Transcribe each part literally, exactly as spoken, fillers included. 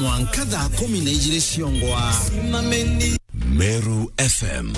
Mwanka thaa kumi na ijiri ciongwa. Meru F M.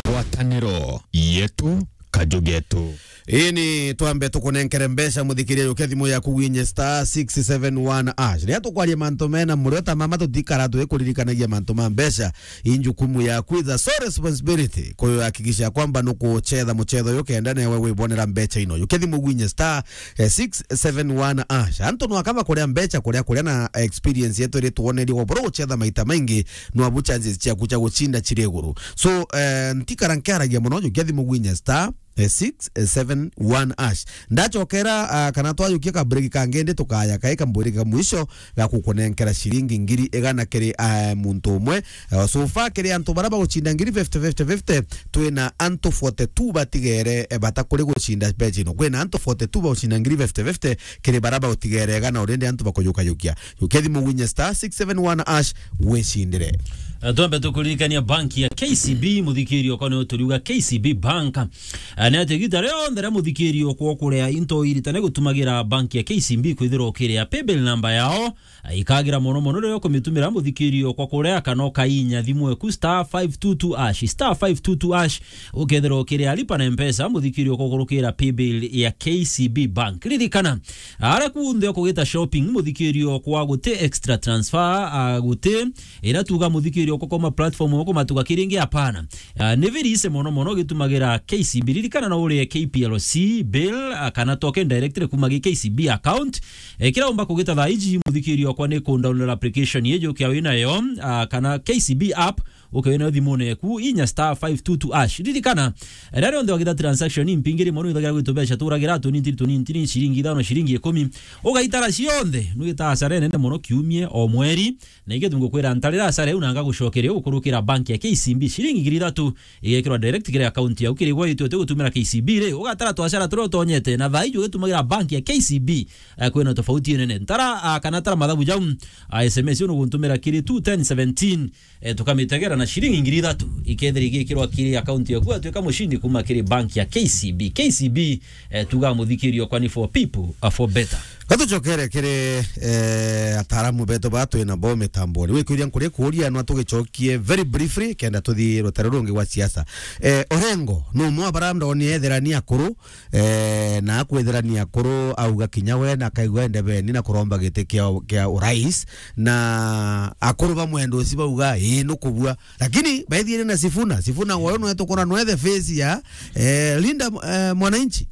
Ngwataniro yetu, kaju getu. Ini twambe tukunenkere mbeca, muthikiria, yukia thimu yaku winye star six seven one hash. Riria tukwaria mantu mena murio ta mama, tutikara twikuririkanagia mantu ma mbeca. I njukumu yaku, it's a sole responsibility kuhakikisha kwamba nukuchetha muchetho uyu kenda newe wibonera mbeca ino. Yukia thimu winye star, eh, six seven one hash. Antu nwaka bakuria mbeca kuria kuria na experience yetu iri twonerie kwa buru guchetha maita maingi, nwabu chances ciaku cia gucinda ciri iguru. So, eh, ntikara nkiaragia muno, yukia thimu winye star, eh, six seven one hash. Ndachokera, ah, kana twajukia ka break kangi, ndi tukaya kai kambwiri ka mwisho ga kukunenkera ciringi ngiri igana kiri, ah, muntu umwe. Eh, so far kiri antu baria bagucinda ngiri fifty, fifty, fifty, twina antu forty-two batigere, eh, bata kuri gucinda mbeca ino. Kwina antu forty-two bagucinda ngiri fifty, fifty, kiri baria bagutigere igana, urindi antu bakuyukayukia. Yukia thimu winye star six seven one hash, wicindire. Eh, twambe tukuririkania banki ya K C B, muthikirio kwa ni uturiuga K C B Bank. Eh, ni ati igita rionthe ria muthikirio kwa kuria into iritane gutumagira banki ya K C B kwithirwa ukiria paybill number yao, eh, ikagira mono mono riria ukumitumira muthikirio kwa kuria kana ukainya thimu eku star five two two hash, star five two two hash, ukethirwa ukiria lipa na M-Pesa muthikirio kwa kurukira paybill ya K C B Bank. Ririkana, aria kunthe ukugita shopping muthikirio kwa guti extra transfer, ah, guti ira tuga muthikirio kwa koma platform ukumatuga kiringi, hapana. Ah, ni very easy mono mono gitumagira K C B. Ririkana no urie K P L C bill, ah, kana token directly kuma gi K C B account. Eh, kira umba kugita thaa iji muthikirio kwa ni ku download application yeju kia winayo, ah, kana K C B app, uke winayo thimune yaku, inya star five two two hash. Ririkana, eh, riria rionthe wagita transaction impingiri mono ithagira gwitu mbeca turagira tunini tunini tunini, ciringi ithano, ciringi ikumi. Ugaitara cionthe, nwita hasara nene mono kiumie o mweri. Na ingi tungukwira ntarira hasara iu na ngagucokeria ukurukira bank ya K C B ciringi ngiri ithatu igekirwa direct kiri account yau kiri gwe itwe tugutumira K C B ri, ugatara twasara turia utonyete na thaa iji ugitumagira bank ya K C B, eh, kwina tofauti nene. Ntara, ah, kana tara mathabu jau, ah, S M S unu guntumira kiri two ten seventeen, eh, tukamitegera na ciringi ngiri ithatu ikethira igikirwa kiri account yaku, atwika mushindi kuma kiri bank ya K C B. K C B, eh, tuga muthikirio kwani for people, uh, for better. Gatucokere kiri, eh, ataaramu betu ba twina bo mitamboni. Wikwiria nkuri kuria nwa tugicokie very briefly kenda tuthii rutaro rungi rwa siasa. Eh, Orengo, no mwa bara ndoni ethira ni akuru, eh, na akwithira ni akuru, auga kinya we na akaigua ende beni na kuromba giti kia, kia urais, na akuru ba mwendo uci bauga, "Ii, nukubua." Lakini baithiene na Sifuna, Sifuna ngoro no etukora no ethe face ya, eh, Linda, eh, Mwananchi.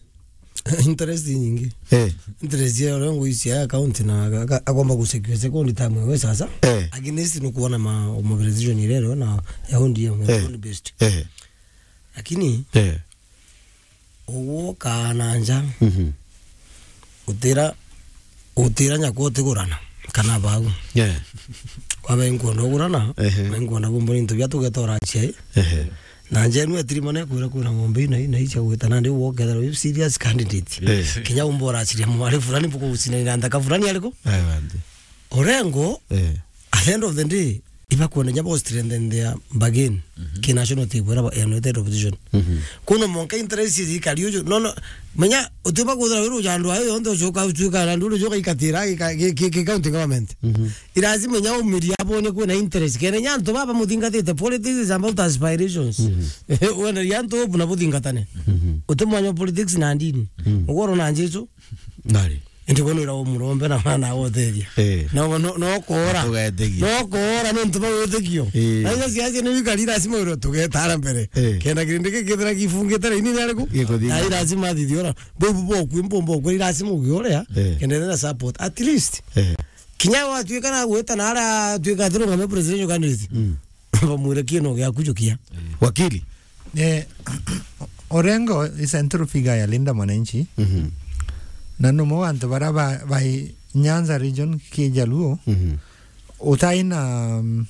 Interest nyingi. Eh. Interest ya Orengo ici ya account na aka-, aka-, akomba gu secure second time we sasa. Eh. Against no kuona ma mobilization ile leo na ya O D M, eh, based. Eh. Lakini, eh, uguo kana nja. Mhm. Utira, utira nyakwa utigurana kana bagu. Yeah. Kwa be nkwenda ugurana, ehe, na nkwenda kumbona into bia tugetora achia. Ehe. Na nja enu etirimane kwira kwina ng'ombe ina, ina icha gwita nandi uguo ukethirwa wi serious candidate. Eh. Kinya umba urachiria mwari fulani mbukugucinanira nthaka fulani ariku? Aye, bandi. Orengo, eh, at the end of the day, ibakwenda nya bo strengthen their bargain, mhm, ki national table ira ba, ya United Opposition. Mhm. Kuno monka interest thirikari uju, no, no, menya utiba kuthira wiru ja andu ayo yonthe ucoka utuika na nduru joka ikatira ki, ki, ki, ki county government. Mhm. Irazima nya umiria abone kwina interest. Kene nya antu baba muthingatite, politics is about aspirations. Mhm. Wenda ria antu buna buthingatane. Mhm. Uti mwanya wa politics na ndini. Mhm. Ugoro na Jesu. Nari. Indi bono ira umurombe na mwana agoteria. Eh. No, no, no kora. Tugetegia. No kora ni ntu ba witikio. Eh. Na icio ciacio ni wikari lazima wiro tugetara mbere. Eh. Kenda kirindi gikithira gifungite raini ni ariku? Gikuthira. Na lazima athithiora. Bobu boku, mbombo boku, lazima ugiorea. Eh. Kenda na support. At least. Eh. Kinya watuika na gwita na ara tuika atirungame presidential candidate. Mm. Bamwire kieno giaku jukia. Wakili. Eh, Orengo is a central figure ya Linda Mwananchi. Mhm. Na no mo antu bara ba, ba Nyanza region ki Jaluo. Mhm. Utai na, um,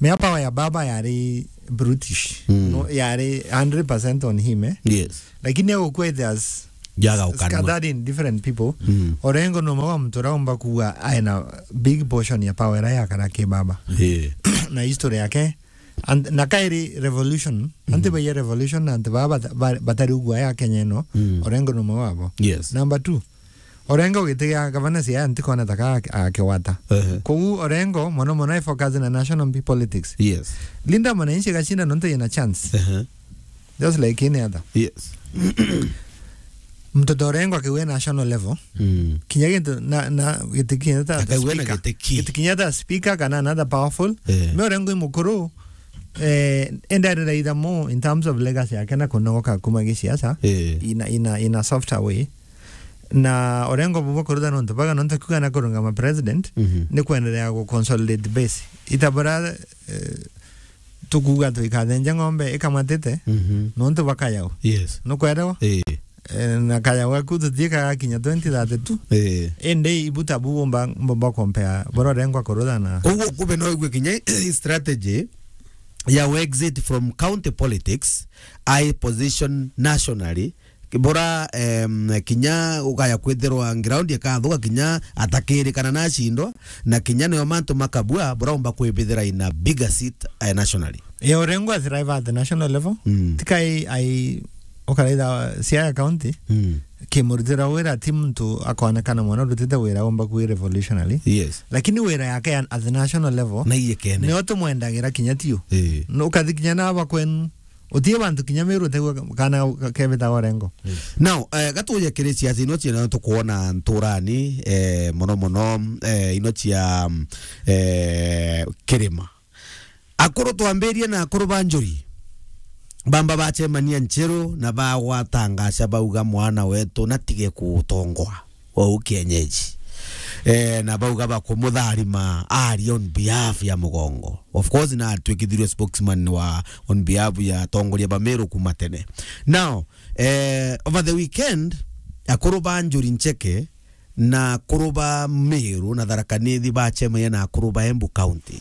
mea power ya baba yari brutish. Mm. No, yari hundred percent on him, eh? Yes. Lakini au kwete as Jaga ukana. Scattered in different people. Mm. Orengo no mwa mtu raumba kuwa aina big portion ya power ya kana ke baba. Yeah. Na history yake. And na kairi revolution. Mm. Anti ba revolution, anti ba bata-, ba-, batari ugwa ya Kenya no. Mm. Orengo no mwa wabo. Yes. Number two. Orengo giti gia gavana Siaya ntikona ta ka akigwata. Ehe. Koguo Orengo mono mono e focus na national politics. Yes. Linda Mwananchi gashinda nontu yina chance. Ehe. Just like any other. Yes. Mtoto Orengo akiwe national level. Mm. Kinya gintu na, na giti kinya ta Akaiwe na speaker. Giti ki. Giti kinya ta speaker kana another powerful. Eh. Me Orengo i mukuru, eh, endarira itha mo in terms of legacy yake na kunogoka kuma gisiasa. Eh. In a, in a, in a softer way. Na Orengo bubwa kurutha nontu baga nontu kuga na kurungama president, Mhm. ni kwendelea gu consolidate base. Itabura, eh, tukuuga twikathenja ng'ombe ikamatite, Mhm. nontu bakayau. Yes. Nukwerewa? Eh. Eh, na kayau gaku tuthii kagakinya twenty thirty-two. Eh. Indi ibuta bu bomba, bomba compare, bora Orengo akurutha na Koguo kube no igue kinya strategy ya exit from county politics, I position nationally, bora, em, kinya ukaya kwithirwa ground ikathuka kinya atakirikana na acindwa, na kinya nio mantu makabua, bora umba kwibithira in a bigger seat, eh, nationally. Ye Orengo athrive at the national level. Mm. Tika ai, ai, ukaraitha Siaya County, Mm. kimurutira wira ti muntu akonekana mwana urutite wira umba kwi revolutionary. Yes. Lakini wira yake ya, at the national level, Na iye kene. nio tumwendagira kinya tiu. Eh. No ukathi kinya na aba kwenu, utie bantu kinya Meru utegwa kana kebita Orengo. Now, eh, gatuje kiri ciaca ino ciana tukwona nturani, eh, mono mono, eh, ino cia, eh, kirima. Akuru twambirie na akuru ba njuri. Bamba bacemania Ncheru na bagwatangaca bauga mwana wetu natige kutongoa. Ou kienyeji. Eh, na bauga bakumutharima ari on behalf ya Mugongo. Of course, na atwikithirio spokesman wa on behalf ya atongoria ba Meru kuma tene. Now, eh, over the weekend, akuru ba njuri ncheke na akuru ba Meru na Tharaka Nithi bacemania na akuru ba Embu County.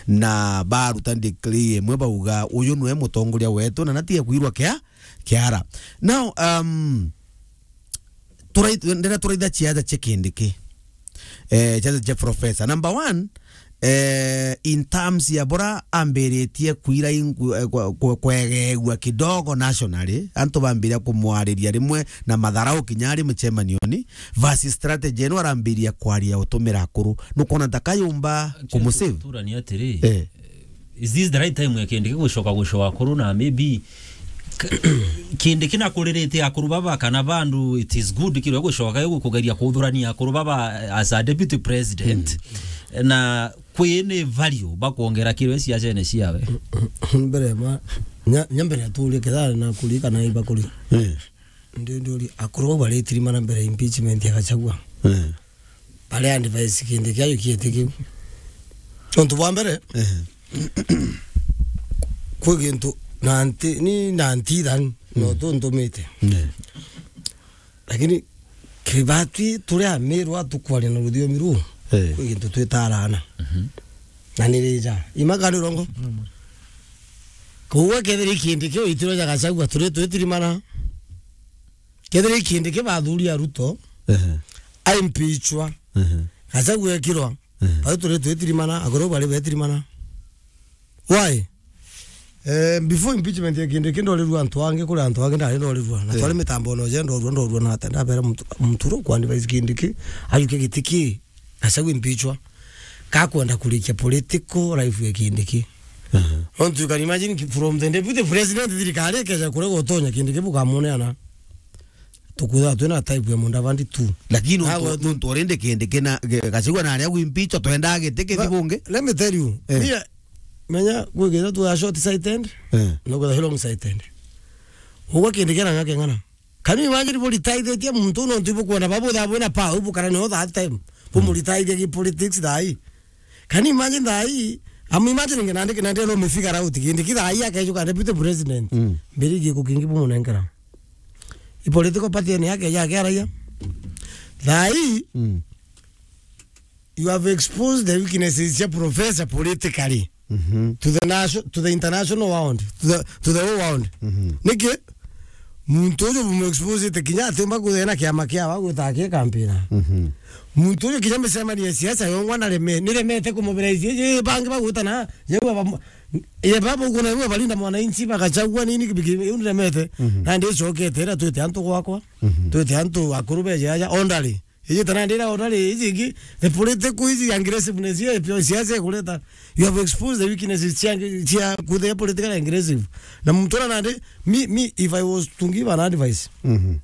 Na baruta decree imwe bauga, "Uyu niwe mutongoria wetu na natige kwirwa kia-, kiara." Now, um, turai-, ndira turaitha ciaca cia Kindiki. Eh, ciaca cia professor. Number one, eh, in terms ya bora ambiritie kwira ingu-, eh, kwe-, kwe-, kwegeegua kidogo nationally, antu bambiria kumwariria rimwe na matharau kinya ari mucemanioni, versus strategy ino arambiria kwaria utumira akuru. Nukwona ta kayumba kumusave? Turani atiri, Eh. Is this the right time ya Kindiki gucoka gucoa akuru na maybe k-, Kindiki na kuririte akuru baba kana bandu it is good kirwe gucoka yo kugeria kuthurania akuru baba as a deputy president? Mm. Na kwi ni value bakwongera kirwe ciacene ciawe? Mbere ma, nya, nya mbere aturie kethari na kurika na iba kuri. Eh. Ndi, ndi uri akuru bau baritirimana mbere impeachment ya Gachagua. Eh. Bare advice Kindiki ajukiete kiu. Untu bwa mbere, Eh. kwi gintu na nti, ni na nti than, no Mm. tuntumite. Eh. Lakini kibatwi turi Ameru atukwaria na ruthiomi ruu, Eh. kwi gintu twitaraana. Mhm. Na ni rija. Ima kana ni urongo? Mm. Koguo kethira i Kindiki itiro ja Gachagua turi twitirimana. Kethira i Kindiki bathuria Ruto, Ehe. aimpichwa, Ehe. Gachagua ekirwa, Ehe. bau turi twitirimana, akuru bari betirimana. Why? Eh, before impeachment ya Kindiki ndorirua antu angi, kuri antu angi ndari ndorirua. Na Eh. twari mitambo no je ndorua, ndorua na ata, ndabera muntu, muntu ru kwa advise Kindiki, ajuke giti ki, Gachagua impeachwa. Kakwenda kurikia political life ya Kindiki. Aha. Nontu you can imagine ki-, from the deputy president, thirikari ikeja kuria gutonya Kindiki bukamuneana. Tukwithirwa twina type ya Mudavadi tu. Lakini nontu, Agwe tu. nontu already Kindiki na, ge-, Gachagua na aria gwimpichwa, twendaa giti kithi But bungi. Let me tell you, Eh. mia, menya, gwikitha tu a short sighted, Eh. no kwitha long sighted. Ugwe Kindiki na ng'ake ng'ana. Can you imagine buritaithitie muntu nontu ibukwona babu thaa bwina power, ibukara nio that time. Bumuritaithia ki politics thaa ii. Can you imagine thaa ii? I'm imagining nandi, nandi no mifigure out. Kindiki thaa ii akejuka deputy president. Mm. Mbiri giko kingi bumunenkera. I political party ni yake ya kiaraia. Thaa ii, Mm. you have exposed the weaknesses cia professor politically Mhm. to the nation, to the international world, to the, to the whole world. Mhm. Niki? Muntu uju bumu exposite kinya atimba kuthena kiama kia wa gwita aki campaign. Mhm. Muntu uju kinya micemanio ya siasa yongwa na reme, ni remete kumubira iji, iji bangi bagwita na, yau aba, ye baba uko na yau balinda mwananchi bagachagua nini kibiki, yau ni remete. Mhm. Na ndi cokete ira twite antu gwakwa, Mhm. twite antu akuru beje aja, ondari. Iji tana ndira ona ri, iji ingi, the political, iji aggressiveness ya pio siasa ikureta. You have exposed the weaknesses cia, cia kuthe political aggressive. Na muntu ona nandi, me, me, if I was to give an advice, Mhm.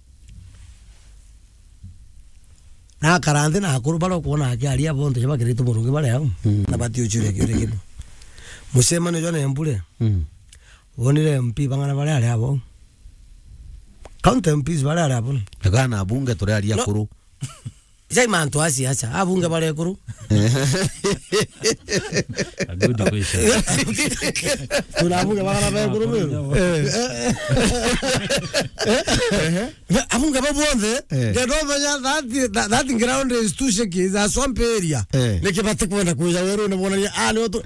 Na akara nthi na akuru baria ukuona akiaria bonthe ja bakirite murungi baria au, Mm. na batiuchiria kiuria kibu. Mucemanio jwa Nembure, Mm. wonire M P bang'ana baria ari abo? County M Ps baria ari abo? Ega na abunge turi ari No. akuru. Jai mantu a siasa, abunge baria ekuru. A good question. Tuna abunge bang'ana ba ekuru biu. Eh. Abunge ba bonthe, Eh. they don't measure that, that, that ground is too shaky, it's a swamp area. Eh. Niki batikwenda kwija werune bonania, ah, ni otu,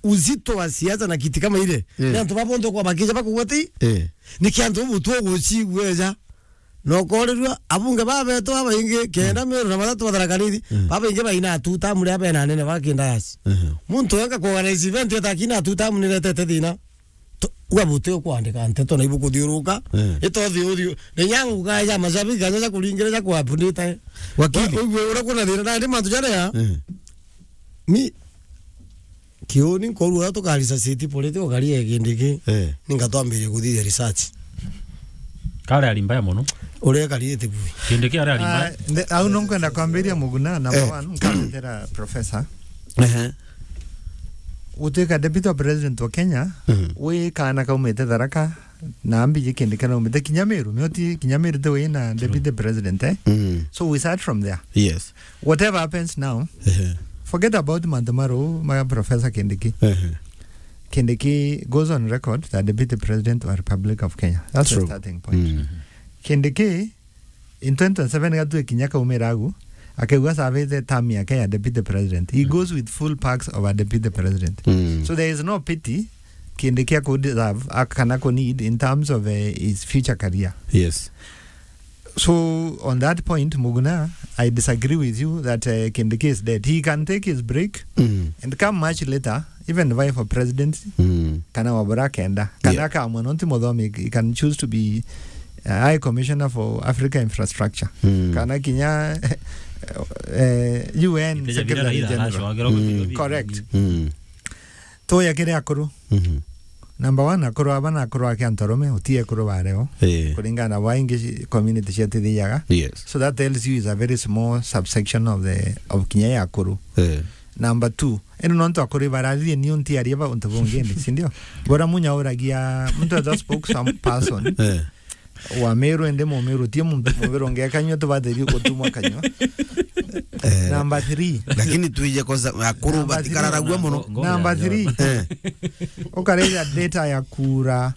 uzito wa siasa na kiti kama ile. Eh. Ni antu ba bonthe kwa bakija bakugwati. Eh. Niki antu butu gucigweja. Na ukorirua, abunge babetu babaingi, kenda Mm. Meru na batatu ba Tharaka Nithi, Mm. babaingi baina two term ria bena anene ba kindayasi. Mhm. Muntu wenga kuorganize event eta akina two term niretete thina. To-, uga buti ukwandika nteto na ibu kuthiuruka. Mm. Ito thiu thiu. Ni nyangu ga ja mashabiki, ga ja kuringira ja kwa update. Wakili. Wa-, ugue uria kuna thina, na ndi mantu jaria. Mm. Mi, Kiuni nkoru uria tukarisa city political career ya Kindiki, Eh. Ninga twambirie kuthithia research. Kari ari mbaya mono. Uria karite kui. Kindiki ari ari mbaya. Ah, nde-, au no nkwenda kwambiria Muguna, number Eh. one, nkaretera professor. Ehe. Utuika deputy president wa Kenya, Mhm. wi kana kaumite Tharaka, na ambiji Kindiki na umite kinya Meru, mioti kinya Meru te wi na deputy president, eh? Mm. So we start from there. Yes. Whatever happens now, Ehe. forget about mantu ma ruu ma Professor Kindiki. Ehe. Kindiki goes on record that deputy president of Republic of Kenya. That's True. The starting point. Mm. Kindiki, in twenty twenty-seven gatue kinya kaumira agu, akauga savite term yake ya deputy president. He Mm. goes with full perks of a deputy president. Mm. So there is no pity Kindiki aku deserve, a-, kana ku need in terms of, eh, his future career. Yes. So, on that point, Muguna, I disagree with you that, uh, Kindiki is dead. He can take his break Mm. and come much later, even vie for presidency, Mm. kana wabura kenda. Kana Yeah. akamwe, nonti muthomi, he can choose to be, uh, High Commissioner for Africa Infrastructure. Mm. Kana kinya, uh, U N Iteja bira Secretary Raila General. Aracwagirwo Mm. gutigwo Correct. Mm. Tuya kiri akuru. Mhm. Number one, akuru aba na akuru ake antu arume, uti akuru ba reo. Eh. Kuringana na baingi ci-, community ciatithiaga. Yes. So that tells you is a very small subsection of the, of kinya ya akuru. Eh. Number two, ino nontu akuru bararirie ni unti aria ba untu bungi ni, si ndio? Bora munya uragia, muntu ethwa spokesperson. Eh. Wa Meru, indi Mumiru ti muntu Mumiru ungekanyua tubatheri gutumwa kanyua. Eh, number three. Lakini tuije kosa akuru Number three. Batikararagua muno. Ngo-, ngo-, Number ya, three. Eh. Ukareja data ya kura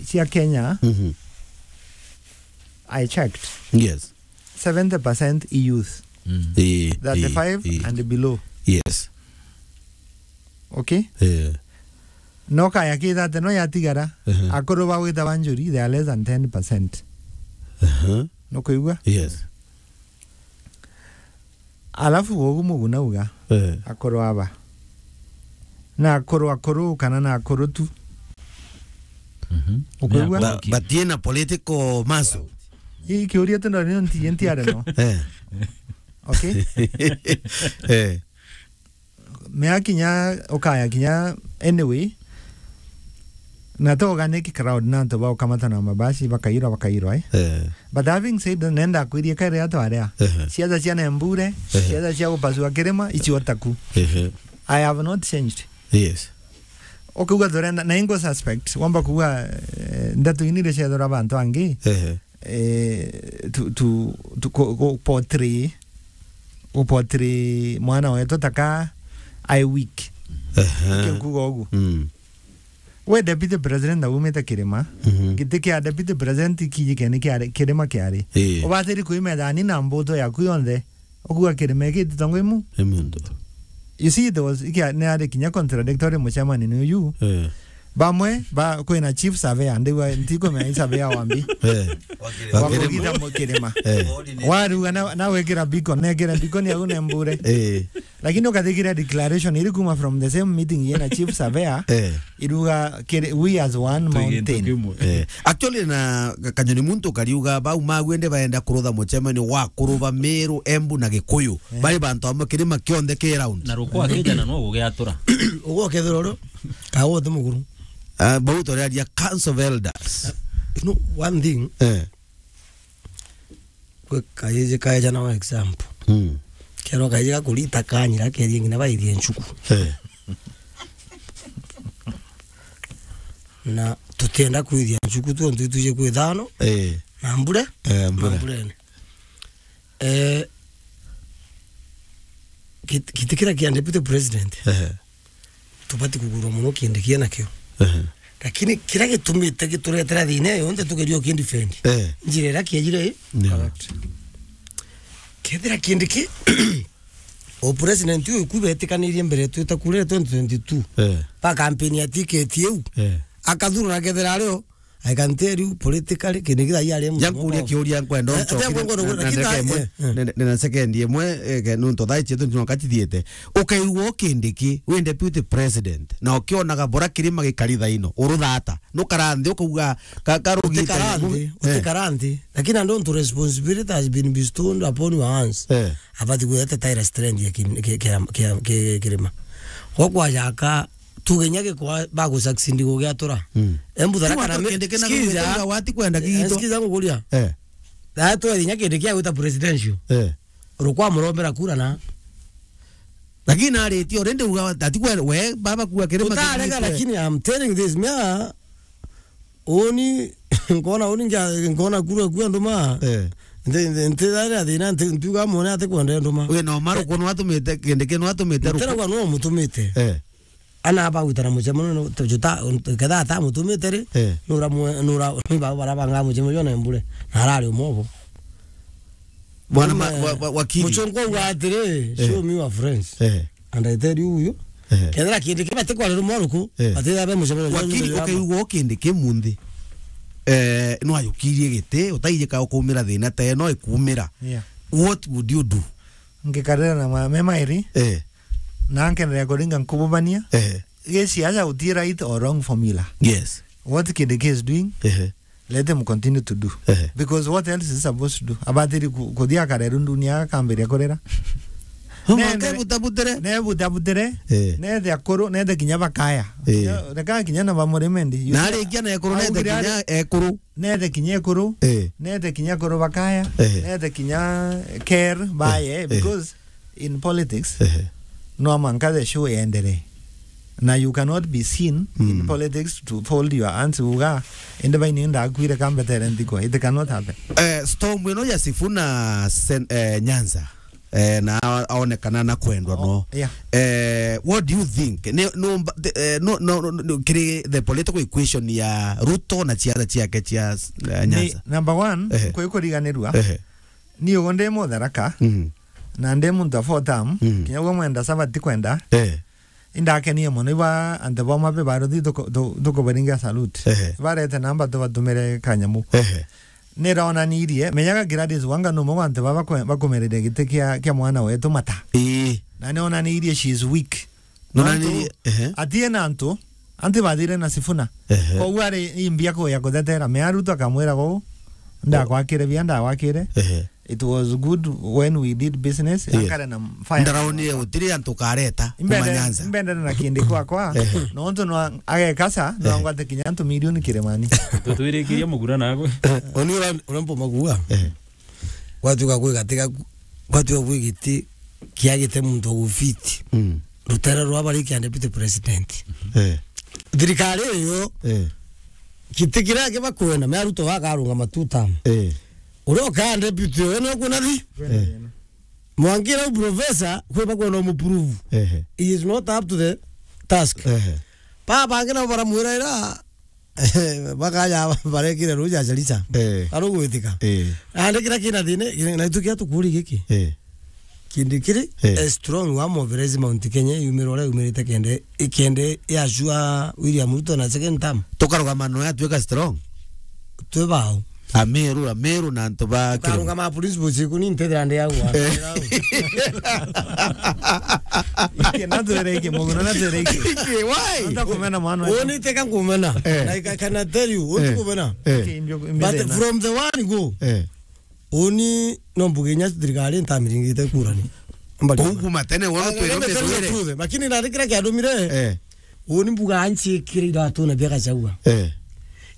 cia Kenya. Mhm. I checked. Yes. Seventy percent youth. Mm. Eh, thirty-five eh, eh. And below. Yes. Okay? Eh. No kaya ki thirty no yatigara, Ehe. Akuru ba gwita ba njuri, they are less than ten percent. Aha. No kuigua? Yes. Alafu ugu Muguna uga, Eh. Akuru aba. Na akuru akuru kana na akuru tu. Mhm. Ukuigua? Ni akuru Ba-, ki- batie na political muscle. Ii kiuria tu no nti, nti are no. Eh. Okay? Eh. Mea kinya, ukaya kinya, anyway, na to organic crowd na antu ba ukamata na mabasi, bakairwa, bakairwa, eh. Eh. But having said that, nenda kwirie kare atu aria. Eh. Siasa cia Nembure, eh. Siasa cia gupasua kirima, icio taku. Eh. I have not changed. Yes. Ukauga turenda, na ingo suspect, wamba kuuga, eh, ndeto inire ciethura bantu angi. Eh. Eh, tu, tu, tu, ku, ku portray, ku portray mwana wetu taka ai weak. Aha. Niki nkuga ugu. Mm. We deputy president na umite kirima, mhm. Giti kia deputy president kiji keni kia kirima kiari. Eh. Ubatiri kuimethani na mbuto yaku yonthe. Ukuga kirima iki ti tongo imu. Imu ndutu. You see, there was, ikia, ni ari kinya contradictory mucemani ni uyu. Eh. Bamwe ba, kwina chief surveyor, ndigwa ntikumenya i surveyor wa mbi. Eh. Wa kugita mu kirima. Eh. Waruga na, na wikira beacon, nekire beacon au nembure. Eh. Lakini ukathikira declaration iri kuma from the same meeting yena chief surveyor, eh, iruga kiri, we as one mountain. Eh. Actually, na Kanyoni muntu kariuga bau magwende baenda kurutha mucemanio wa kuruba Meru, Embu na Gikuyu. Eh. Bari bantu amwe kirima kionthe ki round. Na rukwa kijana no gugiatura. Ugo kethiro ro, kawo ti muguru. Ah, bau turaria Council of Elders. You know, one thing, eh, kwi kaiji kaeja na example. Mm. Kero kaiji gakurita kanyira kerie ngina baithie nchuku. Eh. Na tutienda kwithia nchuku tu, ntu ituje kwithano. Eh. Na mbure. Eh, mbure. Na mburene. Eh, kit-, kiti kira kia deputy president. Eh. Tubati kugurwa muno Kindiki nakio. Ehe. Lakini kira gitumite gituretera thina iyo yonthe tugeria ukindefend. Eh. Njira iria kiejire ii. Yeah. Correct. Kethira Kindiki, o president uyu ku betikanirie mbere twita kure twenty twenty-two. Eh. Ba campaign ya ticket iu. Eh. Akathurwa na kethira ario, I can tell you politically, Kindiki thaa ii ari muntu mukuru. Nkuria kiuria nkwenda. Eh, uncokerie, nkwenda na, na, lakini ndagika imwe, eh, eh, na, na, na second imwe, eh, ke, nontu thaa ici tu nonka cithiite. Ukaigua Kindiki, wi deputy president, na ukionaga bura kirima gikari thaa ino, uruthata. Nukara nthi, ukauga, ka, karugite. Utikara nthi, eh, utikara nthi. Lakini andu ntu responsibility has been bestowed upon your hands. Eh. Abati gwete tire strength ya ki-, ki-, ki-, ki-, ki-, kirima. Gwa kwajaka tuge nya gikwa bagusucceed gugiatura. Mm. Embu Tharaka na Meru, Kindiki na sikiza. Gugiatura wati kwenda, eh, gitu. Sikiza ngukuria. Eh. Na tweri nya Kindiki agwita presidential. Eh. Rukwa murombera kura na. Lakini aritie already uga ati kwe we baba kuwa kirima. Utarega, lakini I'm telling this, mea Uni, nkona uni ngia-, nkona kura kua nduma. Eh. Nti, nti, nti, thari athina, nti, ntiuga mwone ati kwenda nduma. We no maru, eh, kono atumite, Kindiki no atumite ruku. Ntera kwa no mutumite. Eh. Ana aba gwitana mucemanio, no, tujuta, ketha ata mutumite ri, eh, nura mwe-, nura, ni baba barabanga mucemanio na mbure. Na arari umobo. Bwana ma-, wa-, wa-, wakili. Muchongo wa atiri, eh, show me your friends. Eh. And I tell you, you. Eh. Kethira Kindiki bati kwarira mwaruku, eh, batitha be mucemanio jwa. Wakili, jubilee ukaigua Kindiki munthi. Eh, no ayukirie giti, utaijika ukumira thina te no ikumira. Yeah. What would you do? Ngikarira na ma-, me mairi. Eh. Na nkenderea kuringa nkububania. Eh. Giciaca uti right or wrong formula. Yes. What Kindiki is doing, eh, let them continue to do. Ehe. Because what else is supposed to do? Abatiri ku-, kuthia akareru ndunia akambiria kurira. Mama, ne-, ne-, kebutabutire. Nebutabutire. Eh. Nethe akuru, nethe kinya bakaya. Eh. Kinya, reka kinya na bamurimendi. Na arikia na ekuru, nethe kinya ekuru. Nethe kinya ekuru. Eh. Nethe kinya ekuru bakaya. Eh. Nethe kinya care baye, eh, because in politics, ehe, no manka the show yenderee. Na you cannot be seen in, mm, politics to fold your hands uga, indi baini ndakwire kambetere nthiko. It cannot happen. Eh, storm ino ya Sifuna Sen-, eh, Nyanza. Eh, na a-, aonekana na kwendwa, oh, no. Yeah. Eh, what do you think? Ne, no, mba-, the, eh, no, no, no, no, kiri the political equation ya Ruto na ciana ciake cia, eh, ni, Nyanza. Number one, ehe, kwi kuriganirua. Ehe. Ni ugo ndi Mutharaka. Mhm. Na ndi muntu wa four term, mm, kinya gwe mwenda saba ti kwenda. Eh. Indakenie mono, iba antu boma be baruthi tuku-, tu-, tukubaringa salute. Ehe. Barete namba tubatumire kanyamu. Ehe. Niraonanirie, menyaga Gladys Wanga ni umwe wa antu baba bakwe-, bakumereria giti kia, kia mwana wetu mata. Ii. Na nionanirie she is weak. No, nontu nani, ehe, atie na antu, anti bathire na Sifuna. Ehe. Koguo ari imbia kuya kuthetera. Mea Ruto akamwira guu, ndakwakire bia, ndawakire. Ehe. It was good when we did business. Yes. Akare na fire. Ndaraonire gutiri antu kareta kuma Nyanza. Imbendere na Kindiki kwakwa. Ehe. Nontu no agekasa, no, ehe, angwate kinya antu milioni kirimani. Tutwirikirie mugura nagwe. Oni ura-, urambo magua. Ehe. Gwatuika kwi gati gaku, gwatuika kwi giti kiagite muntu wa gufiti. Mm. Rutere rwa bari kia deputy president. Eh. Thirikari iyo, eh, giti kiria kibakwenda, me Ruto bakarungama two term. Eh. Uria ukaa deputy uyo ni ukuna thi. Eh. Mwangira u professor, kwi bakwenda umuprove. Ehe. He is not up to the task. Ehe. Baba bangi nabo baramwira ira, bakaja barekire ruja Chalicha. Eh. Arugwitika. Eh. Ande kira kina thina, na itu kia tukuri giki. Eh. Kindikiri, eh, e strong wa mobilize Mount Kenya, yumire uria yumirite kende, ikende ya sure William Ruto na second term. Tukarugama no yatuika strong. Twi bao. Ameru, Ameru na antu ba Kiru. Tukarugama principles iku ni ntethira ndi au. Eh. Iki na twere iki, muno na twere iki. Iki, why? Nda kumena mwana. Uni teka kumena. Eh. Like, I can tell you, uni kumena. Eh. But from the one go, eh, uni no mbuge inya thirikari ntamiringite kurani. Mbali. Kuu kuma tene, wono. Ah, twire let me tell you the truth. Lakini na kira kiandumire. Eh. Uni mbuga anchikire iratu na bia Gachagua. Eh.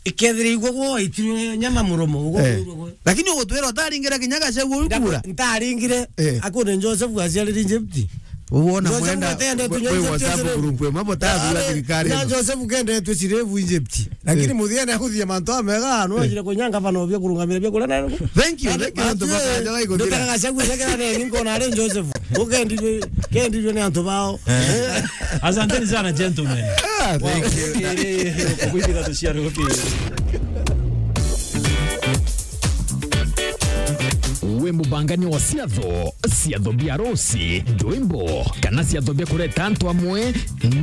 Ikethire igwo gwo itire nyama muromo, gwo. Eh. Lakini ugutwira utaringire kinya Gachagua uri kura? Ntaringire. Eh. Akune Joseph aciarire Egypt. Uona Joseph mwenda atende we, tunyonje we WhatsApp group we, mambo ta thura thirikari na ino. Joseph kende tu cirevu Egypt. Lakini, eh, muthia ni akuthia mantu amega, no, eh, ajire kunyanga bana obia kurungamira bia kula na. Thank you, thank you, antu bakanja gaikuthira. Ndutaka Gachagua, ndakira ni nko na ari Joseph. Ukendirwe, kendirwe ni antu bao. Eh. Asanteni sana, gentlemen. Ah, thank you. Wow. Iri, kukwithira tuciaro pia. Wi mubangania wa ciatho, ciatho bia arusi, ndwimbo, kana ciatho bia kureta antu amwe?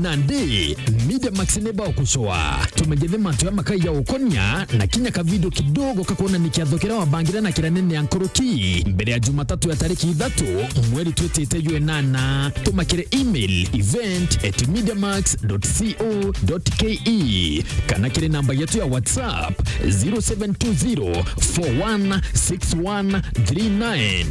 Nandi, Media Max ni bagucoa. Tumegethe mantu ya makai ya ukonia na kinya kavidio kidogo kakwonania kiatho kiria wabangire na kiria nene ya nkuruki mbere ya Jumatatu ya tariki ithatu mweri twitite jwa inana. Tuma kiri email event at mediamax dot co dot ke kana kiri namba yetu ya WhatsApp zero seven two zero four one six one three nine.